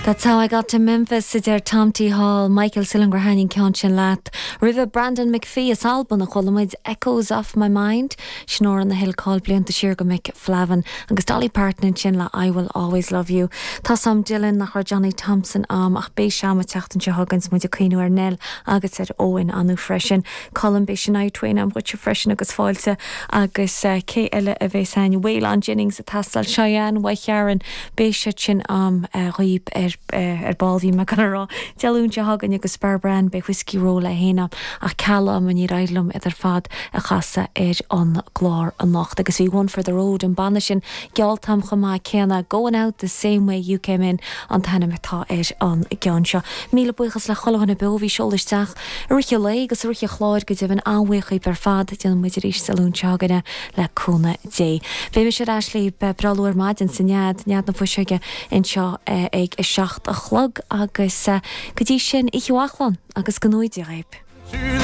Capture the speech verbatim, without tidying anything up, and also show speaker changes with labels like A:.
A: That's how I got to Memphis a deir Tom T. Hall, Michael sílim gur thaitin an ceann sin leat. Roimhe Brandon McPhee as Albain a chuala muid Echoes of My Mind, sin amhrán a thuill cáil blianta siar do Mick Flavin, agus Dolly Parton ansin le I Will Always Love You. Tá sam Dylan nach raibh Johnny Thompson am ach beidh sé an tseachtain seo chugainn muid ag cuimhneamh ar Nell agus ar Owen anu freisin. Colin beidh Shania Twain am dhuitse freisin agus fáilte agus uh, cé eile a bheas againn Waylon Jennings a tastal Cheyenne Sharon beidh sé sin am uh, riib ar uh, ar ball bhí me gan rá Dé Luain seo chugainn agus Barbara Ann beidh Whiskey Roll le héana ach ceala an ní raidlumm idir fad a chasa ar an gclár anocht agus bhí one for the road an banna sin gealltam chomh maith céanna going out the same way you came in an t-ainm atá ar an gceann seo. Míle buíochas le chuile dhuine beo bhí seolisteach a rith le agus a rith chláir go deimhin an-bhuíoch ar fad déanfaidh muid arís Dé Luain seo chugainn le cúnamh Dé. Beidh mise ar ais libh breá luath ar maidin sa nead nead na fuiseige anseo ag a seacht a chlog agus go dtí sin oíche mhaith agus go ngnóthaí Dé.